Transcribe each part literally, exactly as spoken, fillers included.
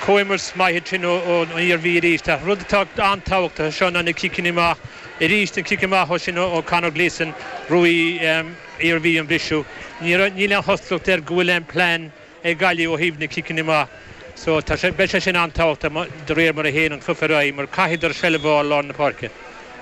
Comhimirt maith sin ón Iarmhí arís. Rud atá an-tábhachtach seo ná na ciceanna amach arís an cic amach ó sin ó Conor Gleeson bhuaigh Iarmhí an briseadh. Níl aon chosúlacht air go bhfuil aon plean ag Gaillimh ó thaobh na ciceanna amach. So tá sé beidh sé sin an-tábhachtach de réir mar a théann an cluiche ar aghaidh mar caithfidh seilbh a fháil lár na páirce.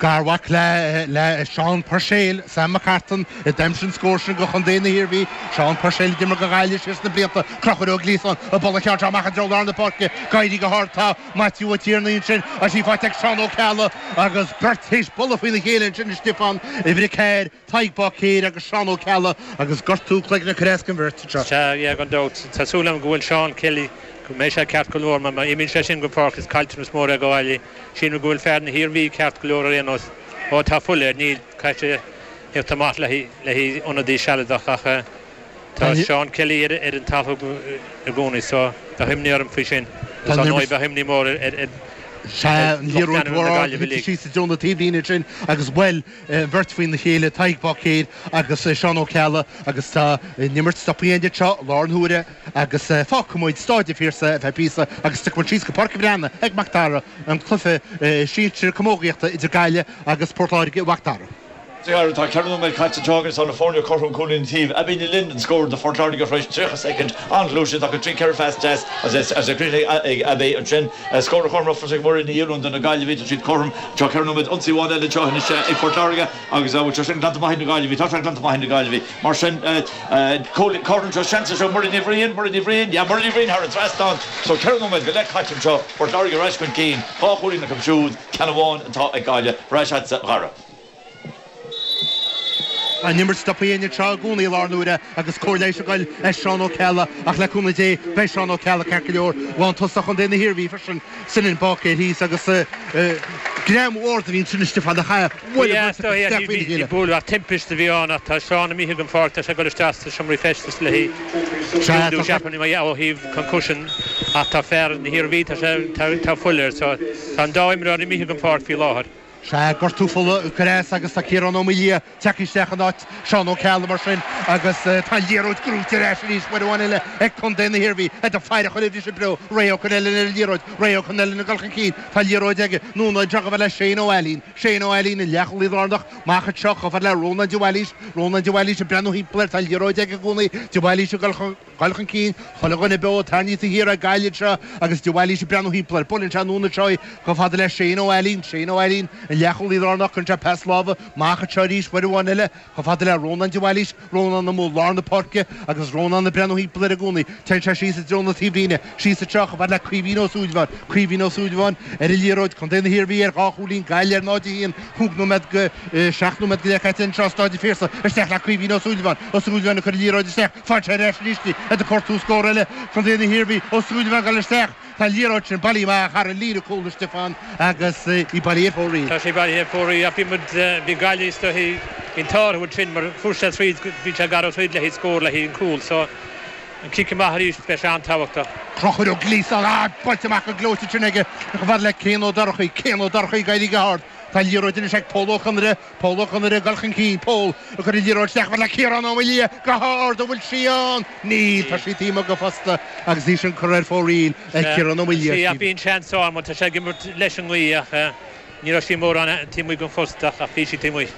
Garmhac le le Seán Puirséil, Sam McCartan a d'aimsigh an scór sin do Chontae na hIarmhí, Seán Puirséil d'imir do Ghaillimh siar sna blianta Conchúr Ó Gliasáin an buille ceann seo amach i dtreo lár na páirce, ag éirí go hard tá Matthew Ó Tiarnaigh ansin agus í faighte ag Seán Ó Ceallaigh agus beirt théis bualadh faoina chéile ansin a Stiofán uimhir a ceathair, Tadhg Báicéir agus Seán Ó Ceallaigh agus gortú cloigne ag cur as don bheirt anseo. Sea, yeah, gan dabht. Tá súil agam go bhfuil Seán Kelly go mbeidh sé ceart go leor mar má imíonn sé sin go páirc is caillteanas mór é do Ghaillimh. Sílim go bhfuil fear na hIarmhí ceart go leor ar aon nós. Ó tá fuil air níl caithfidh sé theacht amach le le ionadaí sealadach ach tá Seán Kelly ar ar an talamh i gcónaí so bheadh imní orm faoi sin. Tá bheadh imní mór ar ar Sea síos i dtreo na taobhlíne sin agus bhuail beirt faoina chéile Tadhg Báicéir agus Seán Ó Ceallaigh agus tá an imirt stoptha anseo lár na huaire agus fágfaidh muid Staid an Phiarsaigh ar feadh píosa agus tiocfaidh muid síos go Páirc an Bhreathnaigh ag Mac Dara an cluiche sinsir camógaíochta idir Gaillimh agus Port Láirge Mac Dara. Tá ceithre nóiméad caite agus tá na foirne cothrom cúilín taobh a bhí linn an scór do Phort Láirge théis tríocha soicind an-ghluaiseacht acu trí ceithre phas deas agus a ag Abbey ansin scór chomh ag Muireann Ní Fhionnúin do na Gaillimhigh tá siad cothrom tá ceithre nóiméad ionsaí amháin eile seo ag Port Láirge agus bhfuil sé sin glanta maith na Gaillimhigh tá sé glanta maith na Gaillimhigh mar sin cothrom seo seans seo Muireann Ní Bhriain Muireann Ní Bhriain ja Muireann Ní Bhriain thar an trasnán so ceithre nóiméad go leith caite seo Port Láirge ar ais chun cinn dhá chúilín acu siúd ceann amháin atá ag Gaillimh ar ais sa Ghara. An imirt stoptha anseo i gcónaí lár na huaire agus cóir leighis ag goil ar Seán Ó Ceallaigh ach le cúnamh Dé beidh Seán Ó Ceallaigh ceart go leor lántosach Chontae na hIarmhí freisin Sinan Báicéir thíos agus greim ard a bhíonn sin Stiofán a cha Bhuel timpiste a bhí ann tá Seán imithe den pháirc tá sé ag dul isteach sa seomra feistis le ó thaobh concussion ach tá fear na hIarmhí tá tá fuil air so tá an dá imreoir imithe den pháirc faoi láthair. Sea gortú fola cres agus tá Ciarán Ó Maoildhia tagtha isteach in áit Seán Ó Ceallaigh mar sin agus tá liathróid gnóthaithe ar ais arís uair amháin eile ag Contae na hIarmhí ag faire chun oibrí breo Ray Ó Conellan ar an liathróid Ray Ó Conellan ag dul chun cinn tá liathróid aige núna seo le Shane Ó Ailín Shane Ó Ailín an leathchúlaí lárnach amach anseo chomh fada le Rónán de Bhailís Rónán de Bhailís ag breathnú timpeall air tá liathróid aige i gcónaí de Bhailís ag dul chun chun cinn chuile dhuine beo tarraingthe thiar ag Gaillimh seo agus de Bhailís ag breathnú timpeall air buaileann sé anonn anseo chomh fada le Shane Ó Ailín Shane Ó Ailín an leathchúlaí lárnach chun sé pas láimhe amach anseo arís uair amháin eile chomh fada le Rónán de Bhailís Rónán amuigh lár na páirce agus Rónán ag breathnú timpeall air i gcónaí Téann sé síos i dtreo na taobhlíne síos anseo chomh fada le Caoimhín Ó Súilleabháin Caoimhín Ó Súilleabháin ar an liathróid Contae na hIarmhí ar dhá chúilín Gaillimh ar náid a haon cúig nóiméad go seacht nóiméad go leith caite anseo Staid an Phiarsaigh isteach le Caoimhín Ó Súilleabháin Ó Súilleabháin ag cur an liathróid isteach faigheann sé ar ais arís í ag cuartú scór eile Contae na hIarmhí Ó Súilleabháin ag dul isteach Tá liathróid sin bailithe amach thar an líne cúil Stiofán agus í bailithe ar fóraoil. Tá sé bailithe ar fóraoil ach bhí muid bhí Gaillimh bhí an t-ádh sin mar fuair sé tríd bhí sé gar tríd le scór le an cúl so an cic amach arís beidh sé an-tábhachtach. Conchúr Ó Gliasáin á buailte amach go gleoite sin aige chomh fada le Cian Ó Dorchaí Cian Ó Dorchaí ag éirí go hard. Tá liathróid anois ag Pól Ó Conaire Pól Ó Conaire ag dul chun cinn Pól ag cur an liathróid isteach le Ciarán Ó Maoildhia go hard an bhfuil sí ann níl tá sí taobh amuigh go fosta agus í sin curtha ar fóraoil ag Ciarán Ó Maoildhia. Sí bhí an seans ann tá sé ag imirt leis an ngaoth ach ní raibh sí mórán taobh amuigh den phosta ach bhí sí taobh amuigh.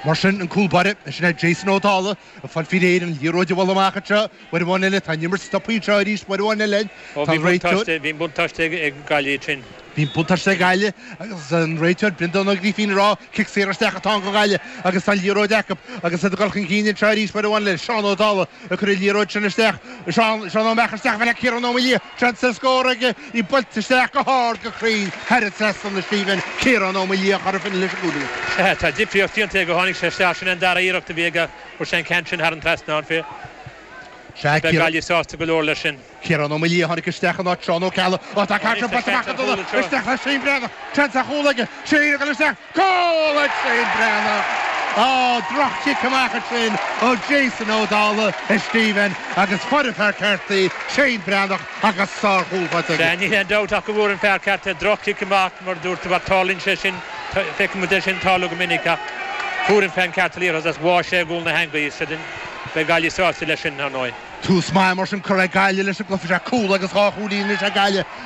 Mar sin an cúl báire sin é Jason Ó Dála a fáil faoi réir an liathróid a bhualadh amach anseo uair amháin eile tá an imirt stoptha anseo arís uair amháin eile Bhí buntáiste ag Gaillimh sin. Bhí buntáiste ag Gaillimh agus an réiteoir Breandán Ó Grífín ag rá cic saor isteach atá go Gaillimh agus tá liathróid acu agus iad ag dul chun cinn anseo arís uair amháin le Seán Ó Dála ag cur an liathróid sin isteach Seán Seán Ó Meach isteach le Ciarán Ó Maoildhia seans ar scór aige í buailte isteach go hard go cruinn thar an trasnán Stephen Ciarán Ó Maoildhia chur fin leis an gcúilín. Tá difríocht déanta go tháinig sé isteach sin an dara iarracht a bhí aige fuair sé an ceann sin thar an trasnán fé. Sea Gaillimh sásta go leor leis sin. Ciarán Ó Maoildhia tháinig isteach in áit Seán Ó Ceallaigh ó tá Carter buailte amach isteach le Shane Breathnach seans ar chúl aige Shane ag dul isteach cúl ag Shane Breathnach Á droch-chic amach ansin ó Jason Ó Dála is Stephen agus fuair an fear ceart í Shane Breathnach agus sárchúl faighte aige. Ní haon dabht ach go bhfuair an fear ceart droch-chic amach mar dúirt tú tarlaíonn sé sin feicimid é sin tarlú go minic ach fuair an fear ceart liathróid as bháigh sé i gcúl na heangaí beidh Gaillimh sásta leis sin ar ndóigh. Tús maith mar sin curtha ag Gaillimh leis an gcluiche sé cúl agus dhá chúilín leis ag Gaillimh